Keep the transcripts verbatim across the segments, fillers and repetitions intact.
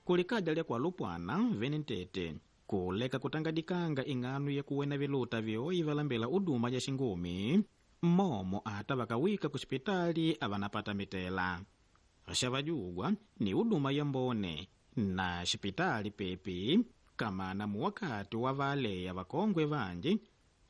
Kulikaja lya kwalupwana vene ntete kuleka kutangadikanga ing'ano yakuwena viluta vyoyi valambela uduma ja xingumi mmomo ata vakawika kuxipitali avanapata mitela. Xavajugwa ni uduma ya mbone na xipitali pepi kamana muwakati wa valeya vakongwe vanji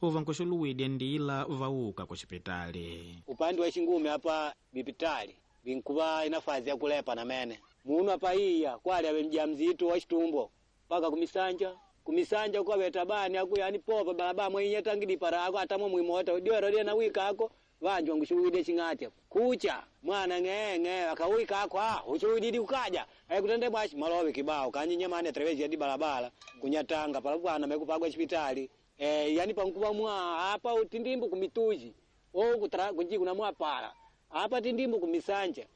uvankuxuluwidya ndila vauka kuxipitali. Upande wa xingumi apa bipitali binkuva inafazi ya kulepa na mene munu apa iya kwali ave mjamzito wa xitumbo mpaka kumisanja kumisanja kwaveta bani aku yani popa balaba mwenye tangidi parako atamo mwimota diwero dia na wika ako vanju wanguxuluwide xing'ati kucha mwana ng'ee ng'ee akawika ako ah uxuluwididi kukaja aikutende bwaxi malowe kibao kanyi nyamani atrevezi ya di balabala kunyatanga palapwana mekupagwa xipitali eh yani pankuva mwa apa utindimbu kumituji o kutra kunji kuna mwapala apa tindimbu kumisanja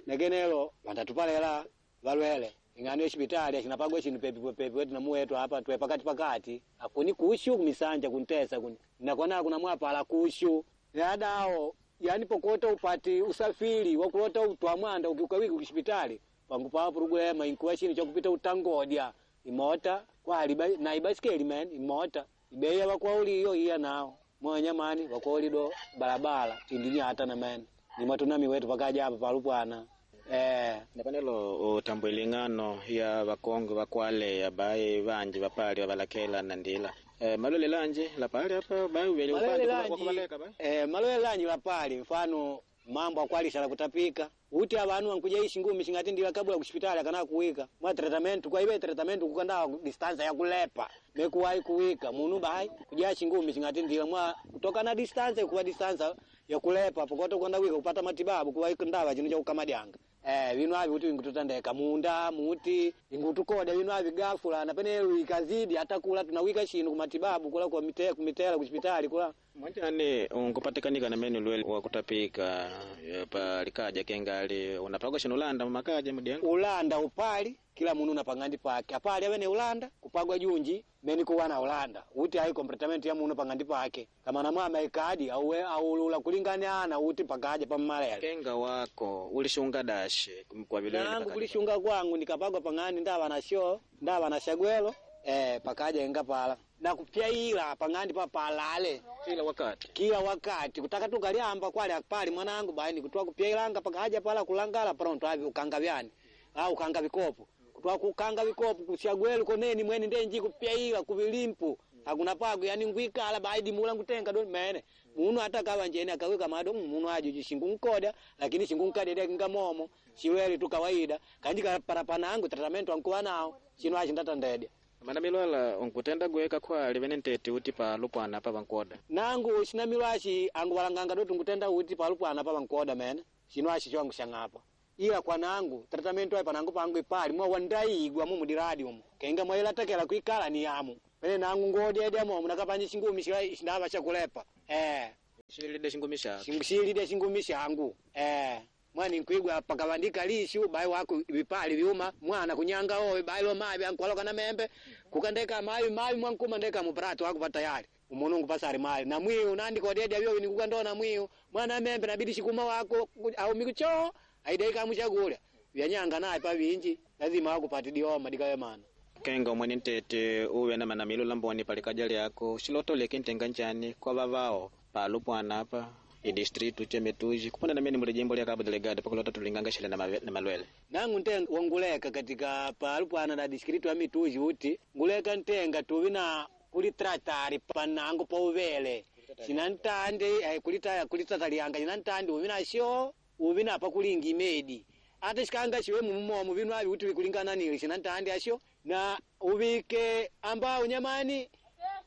nekenelo vandatupalela valwele ing'ano yexipitali axinapagwa xinu pepi pepi wetu namuwetu apa twe pakati pakati akuni kushu kumisanja kuntesa kuni nakona kuna mwapala kushu yadao yani pokota upati usafiri wakulota utwa mwanda ukiukawiki kuxipitali pangu pa purugulema inkuwa xinu chakupita utangodya imota kwali na ibasikeli men imota ibeya wakwauli iyo iya nao mwanyamani wakwauli do balabala tindini hata na men nimatunami wetu pakaja apa palupwana eh napanelo utambwile ng'ano ya vakongwe vakwale baye vanji vapali vavalakela na ndila eh, malwele lanji lapali apa baye uvele malwele upande lanji wakuvaleka baye eh, malwele lanji lapali mfano mambo akwalisa kutapika uti avanu ankuja ishi ngumi shingati ndila kabula kushipitali akana kuwika mwa tratamentu kwa ibe tratamentu kukanda distanza ya kulepa mekuwai kuwika munu bai kuja shingumi shingati ndila mwa kutoka na distanza kuwa distanza ya kulepa pokoto kwenda wika kupata matibabu kuwa ndawa chino cha kukamadyanga eh vinu avi kuti ingututandeka munda muti ingutukoda vinu avi gafula na pene ikazidi hata kula tunawika shinu kumatibabu kula kwa mite, kumitela kushipitali kula mwanjani unkupatikanika na mene lwele wa kutapika eh, pa likaja kengali unapagwa shinu ulanda mumakaja mudianga ulanda upali kila munu na pang'andi pake apali awene ulanda kupagwa junji meni kuwana ulanda uti ayi completament ya munu pang'andi pake kama na mwama ikadi auwe aulula kulingana uti pakaja pammalele kenga wako ulishunga dashe kwa vilwele nangu pakaja. kulishunga kwangu nikapagwa pang'andi ndava na sho ndava na shagwelo eh pakaja inga pala na kupyaila pang'andi papalale kila wakati kila wakati kutaka tukaliamba kwali apali mwanangu baini kutwa kupyailanga pakaja pala kulangala pronto avi ukanga vyani au ukanga vikopo kutwa kukanga vikopo kusyagwelu koneni mwene ndenji kupyaila kuvilimpu hakuna pago yani ngwikala baidi mula ngutenga don mene munu hata kawa njene akawika mado mm, munu ajo jishingu nkoda lakini shingu nkadede kingamomo chiweli tu kawaida kanjika parapanangu tratamentu ankuwa nao chino achi ndatandedya mana milwala unkutenda gweka kwali vene ntete uti pa lupwana pa vankoda nangu sinamilwaxi angu valanganga doti ngutenda uti palupwana pa vankoda mene xino axi xo angu xang'apa ila kwanangu tratamentu ayi panangu pangu ipali mwa wandaigwa mumu diradi umu kenga mwailatakela kuikala ni yamu pene nangu ngodyedya momu nakapanje xingumi xila xindava xakulepa eh xilide xingumi xako xilide xingumi xangu eh mwani nkwigwa pakavandika lishu bai wako vipali vyuma mwana kunyanga owe bai lo mavi ankwaloka na membe kukandeka mavi mavi mwankuma ndeka muprato wako patayari umunungu pasari mali na mwiu nandiko dedya vyo nikukandona mwiu mwana membe nabidi shikuma wako ku- au mikucho aidaika muchakula vyanyanga naye pavinji lazima wakupati dioma dikawemana kenga umwene ntete uwe na manamilo lamboni palikaja lyako xilotoleke ntenga njani kwa vavao palupwana apa idistritu chemetuji kupona na mene muli jimbo lya Cabo Delgado pakulota tulinganga xile na mave- na malwele nangu ntenga wanguleka katika palupwana na distritu ya mituji uti nguleka ntenga tuvi na kulitratari panangu pauvele cinantande eh, kulita kulitatalianga cinantande uvi nasho uvi na pakulinga imedi ata xikanga xiwe mumumomo vinu avi uti vikulingana cinantande asho na uvike ambao nyamani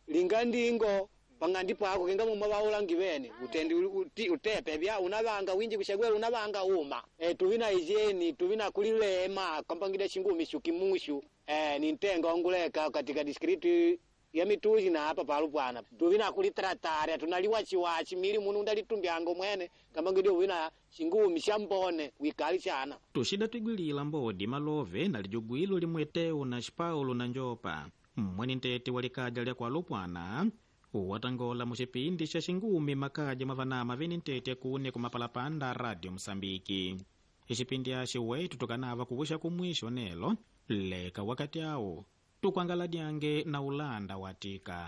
linga ndingo pang'andi pako kenga mumwe vaulangi vene utendi uti, utepe vya unavanga winji kushagwela unavanga uma e, tuvina ijeni tuvina kulilema kampangida shingumi shukimushu e, ni ntenga wanguleka katika distritu ya mituji na apa palupwana tuvina kulitratari tunaliwachiwachi mili munu undalitumbyanga mwene kampangida uvina shingumi shambone wikali chana tuxida twigwilila mbodi malove na lijugwilo limweteu na xipaulo na njopa mmweni ntete wa likaja lya kwalupwana watangola muxipindi xa xingumi makaja mwa vanama vene ntete kune kumapalapanda radio Moçambique. Ixipindi axi wetu tukanava kuvuxa kumwixo nelo Leka wakati awo tukwangala dyange na Ulanda watika.